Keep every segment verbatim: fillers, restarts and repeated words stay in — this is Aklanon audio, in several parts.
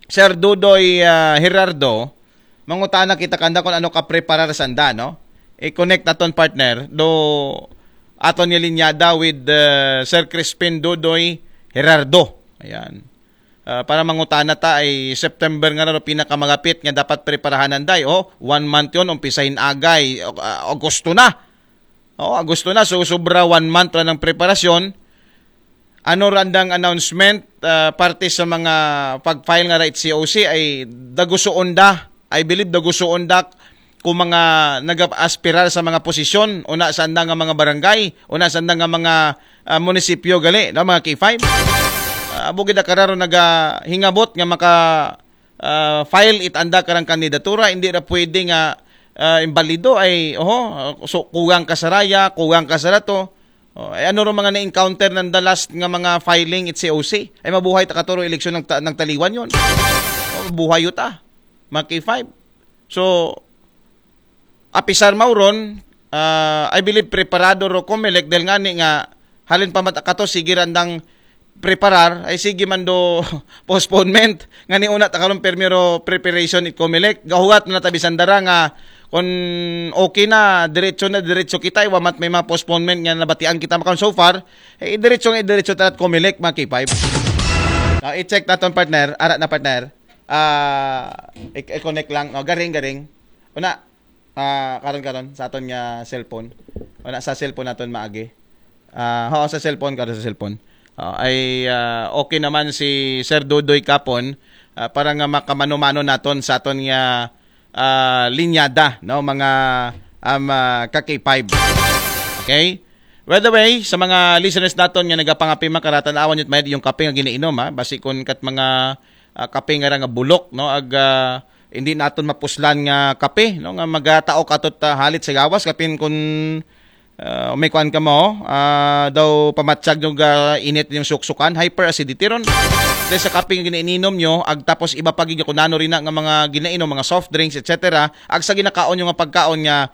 Sir Dudoy, ah, Gerardo, mangutana kita kanda kung ano ka preparar sanda, no? I-connect naton, partner, do aton nga linyada with, ah, Sir Crispin Dudoy Gerardo. Ayan. Ah, para mangutana ta, ay September nga na do pinakamagapit nga dapat preparahanan, day. Oh, one month yon, umpisahin agay. O, ah, Agosto na. Oh, Agosto na. So, sobra one month ra ng preparasyon. Ano randang announcement, ah, parte sa mga pag-file nga ra it C O C ay dagusuon da. I believe dagusuon da kung mga nag-aspirar sa mga posisyon, una sa anda nga mga barangay, una sa anda nga mga, ah, munisipyo gali, no, mga K five. Ah, bugid na kararo nagahingabot nga maka, ah, file it anda karang kandidatura, hindi ra pwede nga, ah, imbalido ay, oho, so, kugang ka sa raya, kugang ka sa rato. Oh, ay ano ro mga na-encounter ng the last nga mga filing it C O C? Ay mabuhay ta katuro eleksyon ng, ta- ng taliwan yon. Oh, buhay yuta. Mga K five. So, apisar mauron, ah, I believe preparado ro Comelec dahil nga ni nga halin pa mat kato sige randang preparar, ay sige man do postponement. Nga ni una ta karon primero preparation it Comelec. Gahuwat na tabi sandara nga kung okay na, diretso na, diretso kita, iwa mat may mga postponement nga nabatian kita makon so far, eh, diretso nga, diretso tarat Comelec, mga K five. Ah, i-check naton, partner. Ara na, partner. Ah, i- i-connect lang. No? Garing, garing. Una, ah, karon, karon, sa aton nga cellphone. Una, sa cellphone naton maagi. Ah, oo, sa cellphone, karon sa cellphone. Ah, ay, ah, okay naman si Sir Dudoy Kapon, ah, para nga makamano-mano naton sa aton nga, ah, linyada, no, mga, um, ah, ka K five. Okay? By the way, sa mga listeners naton nga nagapangapi, makaratan awan yun may yung kape nga ginainom, ha? Basi kun kat mga, ah, kape nga ra nga bulok, no? Ag, ah, hindi naton mapuslan nga kape, no? Nga magatao katot, ah, halit sa gawas, kapin kun, ah, may kuan ka mo, ah, daw pamatsag nyo ga init yung suksukan, hyperacidity ron. Dahil sa kape nga ginainom nyo, ag tapos iba pa gid kun ano rin na nga mga ginainom, mga soft drinks, et cetera. Ag sa ginakaon nyo nga pagkaon nga,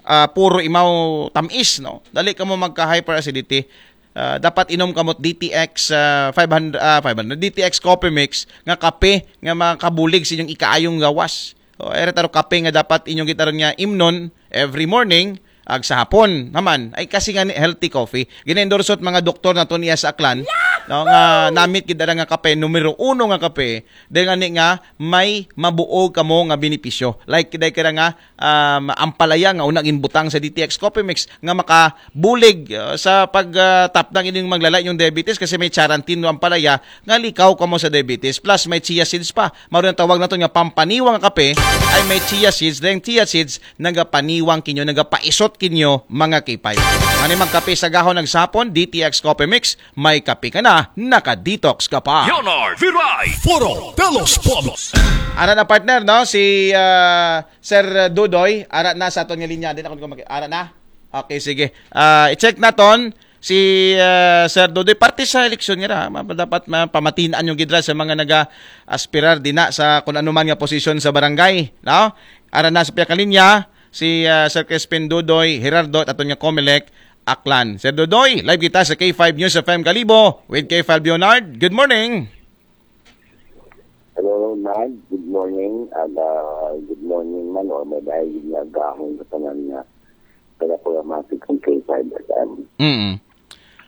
ah, puro imaw tamis, no? Dali ka mo magka-hyperacidity. Ah, dapat inom ka mo D T X, ah, five hundred, ah, five hundred, D T X Coffee Mix nga kape nga makabulig sa inyong ikaayong gawas. O, ere taro kape nga dapat inyong gitaron nga imnon every morning, ag sa hapon naman. Ay kasi nga ni healthy coffee. Gina-endorse ot mga doktor naton iya sa Aklan, no, nga namit gid ara nga kape, numero uno nga kape, dahil nga ni nga may mabuo kamo nga benepisyo. Like, dahil kira nga, um, ampalaya nga una ginbutang sa D T X Coffee Mix nga makabulig, uh, sa pag, uh, tapdang ining maglala yung diabetes kasi may charantin no ampalaya nga likaw kamo sa diabetes. Plus may chia seeds pa. Maro yung tawag naton nga pampaniwang nga kape ay may chia seeds. Dahil chia seeds nagapaniwang kinyo, nagapaisot kinyo, mga K five. Mani magkape sa gahon nagsapon, D T X Coffee Mix, may kape ka na, naka-detox ka pa. Leonard Viray, Foro de los Pueblos. Ara na, partner, no? Si, ah, Sir Dudoy, ara na sa aton nga linya. Di na ako maki-, ara na? Okay, sige. Ah, i-check naton si, ah, Sir Dudoy. Parte sa eleksyon nga ra, ma-, dapat ma-, pamatinaan yung gidra sa mga naga-aspirar din na sa kung ano man nga posisyon sa barangay, no? Ara na sa piyakalinya, si, ah, Sir Crispin Dudoy Gerardo at aton nga Comelec Aklan. Sir Dudoy, live kita sa K five News F M Kalibo with K five Leonard. Good morning. Hello, Nag. Good morning. And, uh, good morning man, or may dahil nga gahong sa tanan nga taga-programmatic ng K five F M. Mm.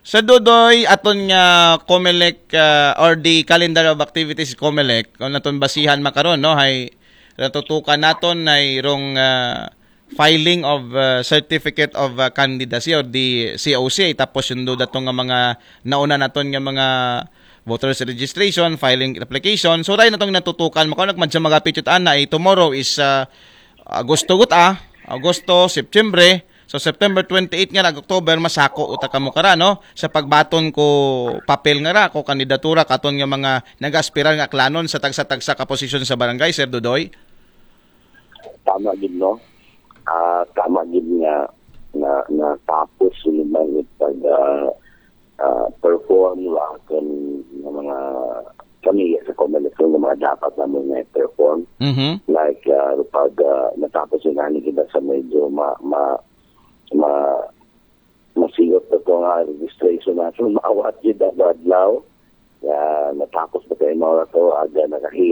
Sa Dudoy, aton nga Comelec, uh, or the calendar of activities Comelec, kung naton basihan makaron, no, hay natutukan naton ay rong, uh, filing of, uh, certificate of, uh, candidacy or the C O C, tapos yung do dato nga mga nauna naton nga mga voters registration, filing application. So, ray natong natutukan, makaon nagmadya magapit yun, ana, eh, tomorrow is, uh, Agosto gut, ah. Agosto, September. So, September twenty-eight nga nag October, masako uta kamo kara, no? Sa pagbaton ko papel nga ra, ko kandidatura, katon nga mga nag-aspirar nga Aklanon sa tagsa-tagsa ka posisyon sa barangay, Sir Dudoy? Tama gid, no? Ah, tama gid nga na, natapos yung mga pag, ah, ah, perform ra kan nga mga kami sa Comelec nga mga dapat namin nga perform. Mhm. Like, ah, pag, ah, natapos yung ani kita sa medyo ma, ma, ma, masiyot na to nga registration natin, maawat gid ang adlaw. Ya, natapos na kayo mga to, aga nakahil